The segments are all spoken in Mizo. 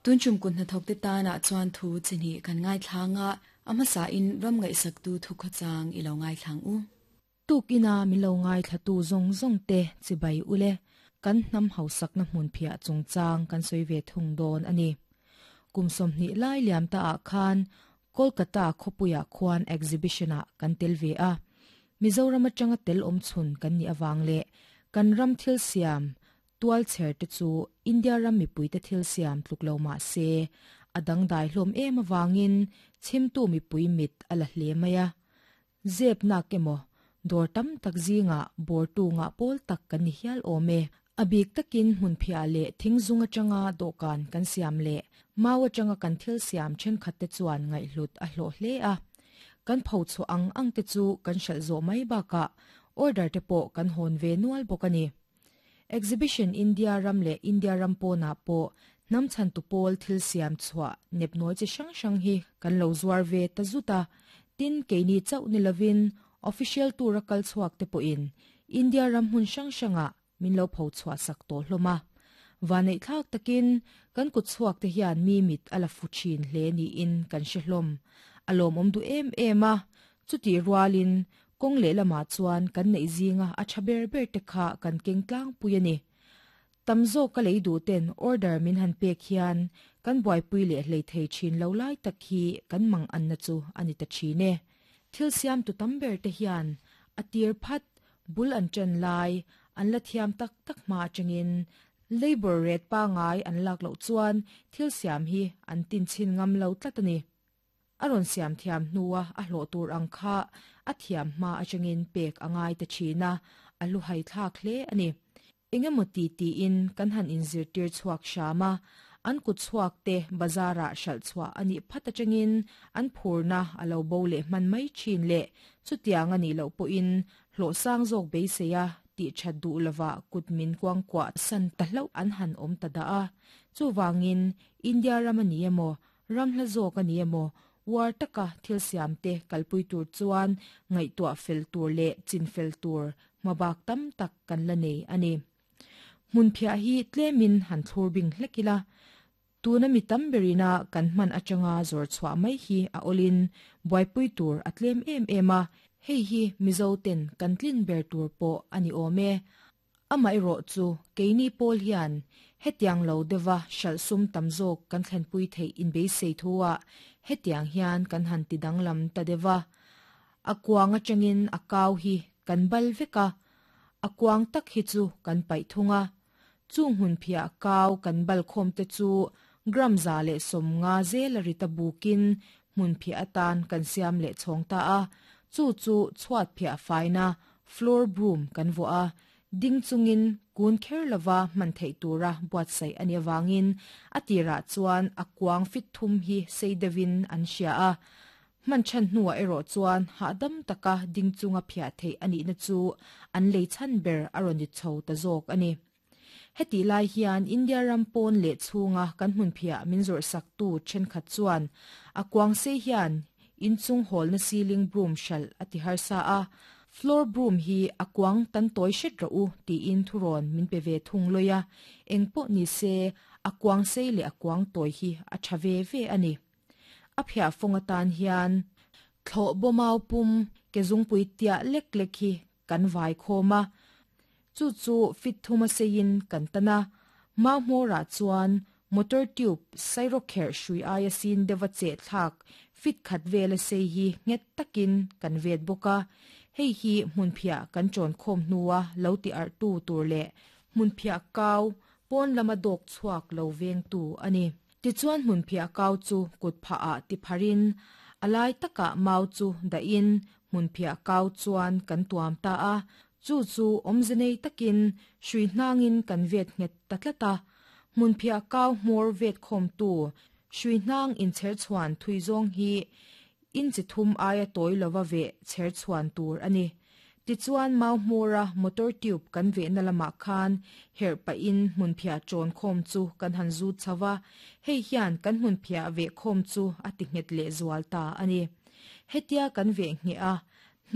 Tun tum kut hnathawkte tanah chuan thu chi hnih kan ngaithlang a, a hmasain ram ngaihsaktu thukhawchang i lo ngaithlang u. Tukina min lo ngaithlatu zawng zawng te chibai ule, kan hnam hausakna hmun phiah chungchang kan sawi ve thung dawn a ni. Kum 20 lai liam ta ah khan Kolkata khawpuiah khuan exhibition ah kan tel ve a. Mizoram atanga tel awm chhun kan nih awang le kan ram thil siam tual cher te chu India ram mipui te thil siam tluk lo ma se adang dai hlawm em awangin chimtu mipui mit ala hle maya zep na kemo dor tam tak zinga bor tu nga pol tak kan ni hial ome abik takin hmun phia le thingzung atanga dokan kan siam le mawa changa kan thil siam then khat te chuan ngai hlut a hlo hle a kan pho chu ang ang te chu kan hral zo mai baka order te pawh kan hon ve nual bawk ani exhibition India ram le India ram po na po nam chan tu pol thil siam chua nep noi chi sang sang hi kan lo zuar ve ta zuta tin keini chau ni lovin official tour a kal chuak te po in India ram hun sang sanga min lo pho chua sak to hloma wanei thak takin kan kut chuak te hian mi mit ala fu thin hle ni in kan hre hlom alom om du em em a chuti rualin kong le lama chuan kan nei zinga a thaber ber te kha kan keng tlang pui ani tamzo ka lei du ten order min han pek hian kan buai pui le hlei thei thin lo lai tak hi kan mang an na chu ani ta thine thil siam tu tam ber te hian atir phat bul an chen lai an la thiam tak tak ma changin labor rate pa ngai an lak lo chuan thil siam hi an tin chin ngam lo tlat ani aron siam thiam nuwa a hlo tur ang kha a thiam ma achangin pek angai te thina alu hai thlak hle ani engemaw ti ti in kan han inzir tir chuak shama an kut chuak te bazara hral chua ani phata changin an phurna alo bo le man mai thin le chutiang ani lo po in hlo sang zawk beiseia ti that du lova kutmin kwang kwa san ta hlo an han om ta da a chuwangin India ram ani emo ram hla zawk ani emo war taka thil siam te kalpui tur chuan ngai tua fel tur le chin fel tur mabak tam tak kan la nei ani mun phia hi tlemin han thlur bing hlekila tuna mi tam berina kan man atanga zor chwa mai hi a olin buaipui tur atlem em ema hei hi mizo ten kan tlin ber tur po ani ome amai ro chu keini pol hian hetiang lo dewa shal sum tamzok kan thlen pui thei in be sei thuwa hetiang hian kan han ti danglam ta dewa akwanga changin akaw hi kan bal veka akwang tak hi chu kan pai thunga chung hun phia kaw kan bal khom te chu gram za le som nga zel rita bukin mun phia atan kan siam le chhong ta a chu chu chhuat phia faina floor broom kan vo a ding chungin kun kher lova man thei tura buat sai ani wangin atira chuan akwang fit thum hi seidewin an sia a man chan nuwa ero chuan ha dam taka ding chunga phia thei ani na chu an lei chan ber aroni chho ta zawk ani heti lai hian India ram pawn le chhunga kan hmun phia min zor sak tu then khat chuan akwang se hian inchung hol na ceiling broom shal ati harsa a floor broom hi akwang tan toy shet ro u ti in thuron min pe ve thung loya engpo ni se akwang sei le akwang toy hi a thave ve ani a phia fonga tan hian thlo bomau pum ke zungpui tia lek lek hi kan vai khoma chu chu fit thuma sein kan tana ma hmora chuan motor tube sairo kher shui aia sin dewa che thak fit khat vela sei hi nget takin kan vet boka hei hi hmun phia kan chon khom nuwa lo ti ar tu tur le hmun phia kaw pon lama dok chuak lo veng tu ani ti chuan hmun phia kaw chu kut pha a ti pharin alai taka mau chu da in hmun phia kaw chuan kan tuam ta a chu chu omzenei takin shui hnangin kan vet nget tatlata mun phia kaw hmor vet khom tu shui hnang in cher chuan thui zong hi in chi thum aia toy lova ve cher chuan tur ani ti chuan mau hmora motor tube kan ve na lama khan her pa in mun phia chon khom chu kan han zu chawa hei hian kan mun phia ve khom chu ati nget le zual ta ani hetia kan ve nge a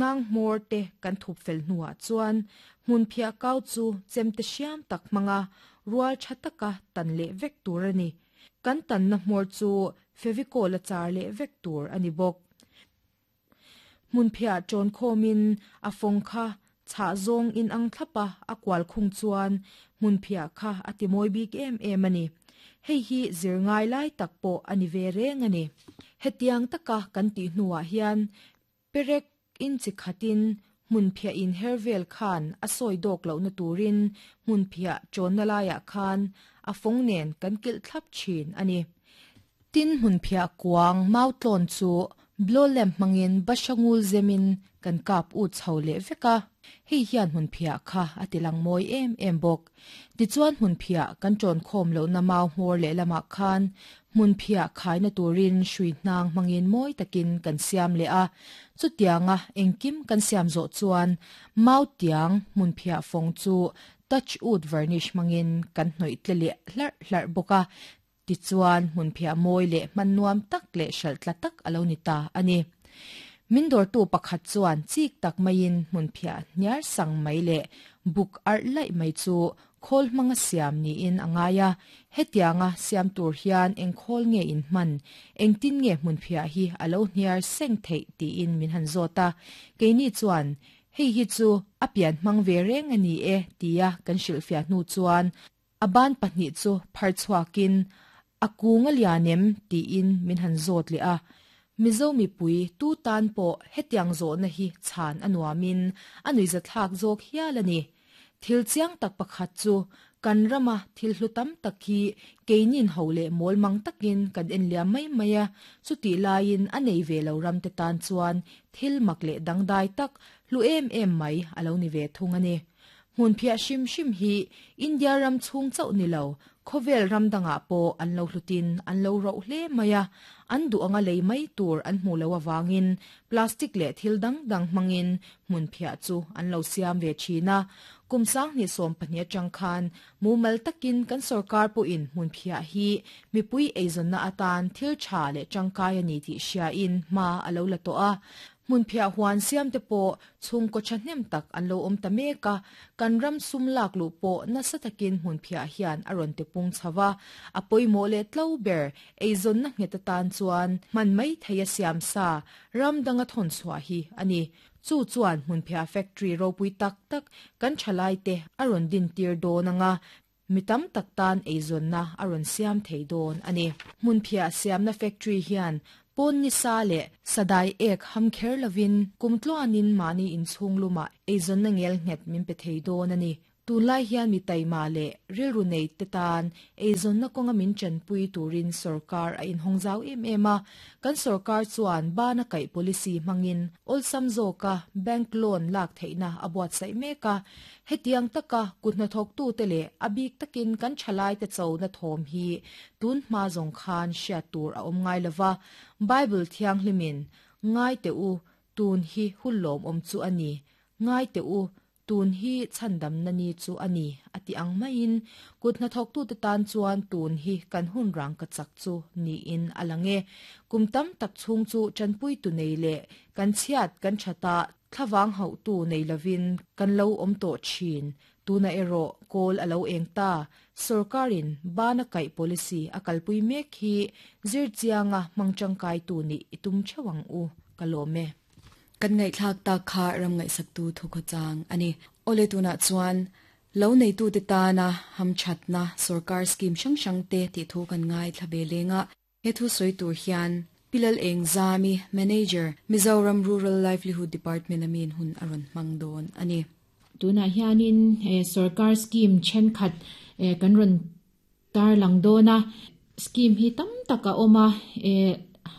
nang hmor te kan thup fel nuwa chuan hmun phia kau chu chemte siam tak manga rual thataka tan le vek tur ani. Kan tanna hmawr chu Fevicol a char leh vek tur a ni bawk. Hmunphiah ṭawn khawmin a fawng kha chhah zawng in ang thlap a, a kual khung chuan hmunphiah kha a ti mawi bik em em a ni. Hei hi zir ngai lai tak pawh a ni ve reng a ni. Hetiang taka kan tih hnuah hian perek in chi khatin hmunphiah in her vel khan a sawi dawk lohna turin hmunphiah ṭawnna laiah khan a fawng nen kan kilh thlap ṭhin a ni. Tin hmunphiah kuang mau tlawn chu blow lamp hmangin bahra ngul zemin kan kap ut chho leh vek a, hei hian hmunphiah kha a ti lang mawi em em bawk. Tichuan hmunphiah kan ṭawn khawm lohna mau hmawr lehlamah khan hmunphiah khaina turin hrui hnang hmangin mawi takin kan siam leh a, chutianga engkim kan siam zawh chuan mau tiang hmunphiah fawng chu touch wood varnish hmangin kan hnawih tle leh hlarh hlarh bawk a, Tichuan, hmunphiah mawi leh hman nuam tak leh hralh tla tak a lo ni ta a ni. Min dawrtu pakhat chuan chik tak maiin hmunphiah hniar sang mai leh buk arh laih mai chu khawl hmanga siam niin a ngai a. Hetianga siam tur hian eng khawl nge in hman, engtin nge hmunphiah hi a lo hniar seng theih tiin min han zawt a. Keini chuan, Hei hi chu a pian hmang ve reng a ni e tia kan hrilhfiah hnu chuan A ban pahnih chu phar chhuakin, A kung a lian em? tiin min han zawt leh a. Mizo mipui tu tan pawh hetiang zawhna hi chhan a nuamin a nuihzathlak zawk hial a ni. Thil chiang tak pakhat chu kan rama thil hlu tam tak hi keinin ho leh mawl mang takin kan en liam mai mai a, chutih laiin a nei ve lo ramte tan chuan thil mak leh dangdai tak hlu em em mai a lo ni ve thung a ni. Hmunphiah hrim hrim hi India ram chhung chauh ni lo, khawvel ram dangah pawh an lo hlutin an lo roh hle mai a, an duh anga lei mai tur an hmuh loh avangin plastic leh thil dang dang hmangin hmunphiah chu an lo siam ve thin a. Kum 2012 atang khan mumal takin kan sorkar pawhin hmunphiah hi mipui eizawnna atan thil tha leh tangkai a ni tih hriain hma a lo la tawh a. Hmunphiah huan siamte pawh chhungkaw thahnem tak an lo awm ta mek a, kan ram sum lak luh pawh nasa takin hmunphiah hian a rawn tipung chho va, a pawimawh leh tlo ber eizawnna nghet atan chuan hman mai thei a siam sa ram danga thawn chhuah hi a ni. Chu chuan hmunphiah factory ropui tak tak kan thalaite a rawn dintir dawn anga Mi tam tak tan eizawnna a rawn siam thei dawn a ni. Hmunphiah siamna factory hian pawn nisa leh sadai ek ham kher lovin kum tluanin mahni inchhung lumah eizawnna ngel nghet min pe thei dawn a ni. Tunlai hian mi taima leh rilru nei te tan eizawnna kawnga min tanpui turin sorkar a inhawng zau em em a. Kan sorkar chuan bana kaih policy hmangin awlsam zawka bank loan lak theihna a buatsaih mek a. Hetiang taka kut hnathawktute leh a bik takin kan thalaite chona thawm hi tun hma zawng khan hriat tur a awm ngai lova, Bible thianghlimin, Ngai teh u, tun hi hun lawmawm chu a ni, ngai teh u, tun hi chhandamna ni chu a ni, a ti ang maiin kut hnathawktute tan chuan tun hi kan hun rang ka chak chu niin a lang e. Kum tam tak chhung chu tanpuitu nei leh kan chhiat kan that a, Thlavang hauhtu nei lovin kan lo awm tawh thin. Tunah erawh kawl a lo eng ta. Sorkarin bana kaih policy a kalpui mek hi zir chianga hmang tangkaitu nih i tum theuh ang u, ka lawm e. Kan ngaihthlak tak kha ram ngaihsaktu thukhawchang a ni. Awle tunah chuan lo neitute tana hamthatna sorkar scheme hrang hrangte tih thu kan ngaithla ve leng a. He thu sawi tur hian Pi Lal Eng Zami, Manager, Mizoram Rural Livelihood Department a miin hun a rawn hmang dawn a ni. Tunah hianin sorkar scheme thenkhat kan rawn tarlang dawn a, scheme hi tam tak a awm a,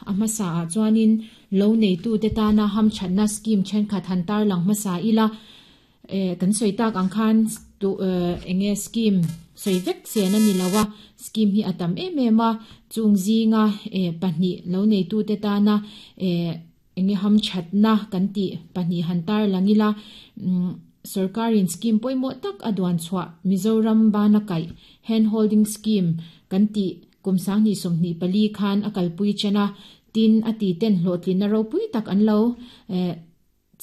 a hmasa ah chuanin lo neitute tana hamthatna scheme thenkhat han tarlang hmasa ila. Kan sawi tak ang khan eng nge scheme sawi vek chen a ni lo a, scheme hi a tam em em a, chung zinga pahnih lo neitute tana eng nge hamthatna kan tih pahnih han tar lang ila, sorkarin scheme pawimawh tak a duan chhuah Mizoram bana kaih hand holding scheme kan tih kum 2024 khan a kalpui chen a, tin a ti ten hlawhtlinna ropui tak an lo.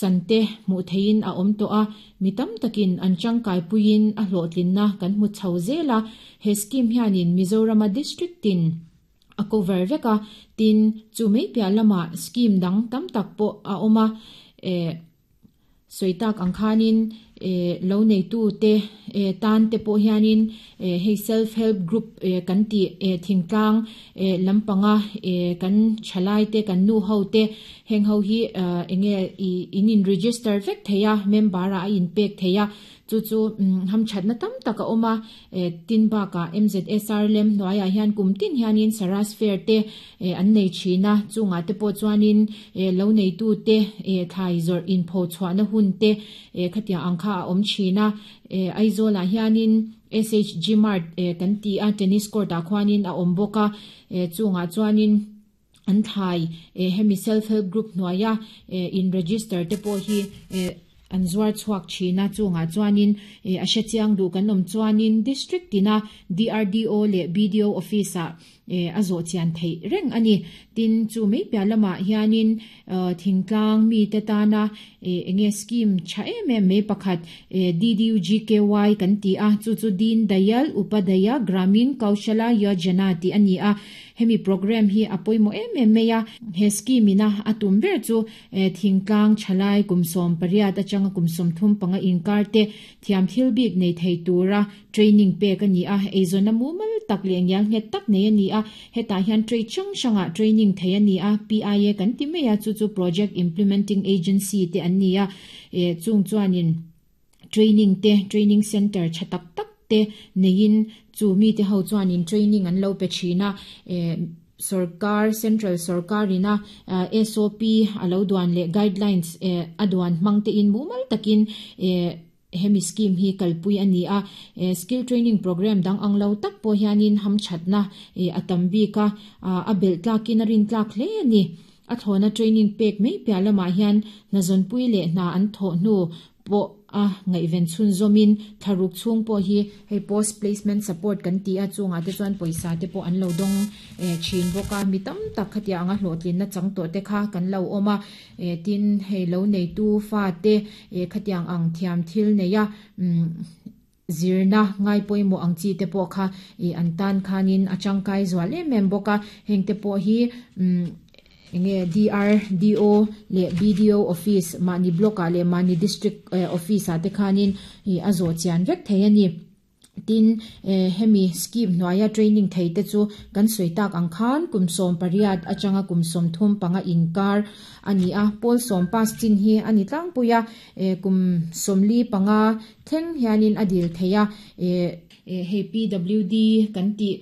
chan te hmuh theihin a awm tawh a, mi tam takin an tangkaipuiin a hlawhtlinna kan hmu chho zel a. He scheme hianin Mizorama district tin a cover vek a, tin chu mai piah lamah scheme dang tam tak pawh a awm a. Sawi tak ang khanin lo neitu te tan te pawh hianin hei self help group kan tih thingtlang lampanga kan thalai te kan nu ho te heng ho hi enge in in register vek thei a, member ah a in pek thei a, chu chu hamthatna tam tak a awm a. Tin bakah MZSR lem hnuaiah hian kum tin hianin Saras Fair te an nei thin a, chungah te pawh chuanin lo neitu te thlai zawrh inpho chhuahna hun te khatiang ang kha a awm thin a. Aizawlah hianin SHG Mart kan ti a, tennis court ah khuanin a awm bawk a, chungah chuanin an thlai hemi self help group hnuaia in register te pawh hi an zuar chhuak thin a. Chungah chuanin a hre chiang duh kan awm chuanin district tina DRDO leh BDO office ah a zawh chian theih reng a ni. Tin chu mai piah lamah hianin thingtlang mi te tana enge scheme tha em em mai pakhat DDUGKY kan ti a, chu chu Deen Dayal Upadhyaya Gramin Kaushala Yojana tih a ni a. Hemi program hi a pawimawh em em mai a, he scheme ina a tum ber chu thingtlang thalai kum 18 atanga kum 35 inkar te thiam thil bik nei thei tura training pek a ni a, eizawnna mumal tak leh ngial nghet tak nei a ni a. Hetah hian trade hrang hrangah training thei a ni a, PIA kan ti mai a, chu chu Project Implementing Agency te an ni a, chung chuanin training te training center tha tak tak te neiin chu mi te ho chuanin training an lo pe thin a. Sarkar central sarkar ina SOP a lo duan leh guidelines a duan hmang te in mumal takin hemi scheme hi kalpui a ni a. Skill training program dang ang lo tak pawh hianin hamthatna a tam bik a, a belh tlakin a rin tlak hle a ni. A thlawna training pek mai piah lamah hian hnazawnpui leh hna an thawh hnu pawh a ngaihven chhun zawmin thlaruk chhung pawh hi hei post placement support kan ti a, chungah te chuan pawisa te pawh an lo dawng thin bawk a. Mi tam tak khatia anga hlawhtlinna chang tawh te kha kan lo awm a, tin hei lo neitu fa te khatiang ang thiam thil nei a zirna ngai pawimawh ang chi te pawh kha an tan khanin a tangkai zual em em bawk a. Heng te pawh hi enge DRDO leh BDO office mahni block ah leh mahni district office ah te khanin a zawh chian vek thei a ni. Tin hemi scheme hnuaia training thei te chu kan sawi tak ang khan kum 18 atanga kum 35 inkar a ni a, pawl 10 pass chin hi a ni tlangpui a, kum 45 thleng hianin a dil thei a. Hei PWD kan tih.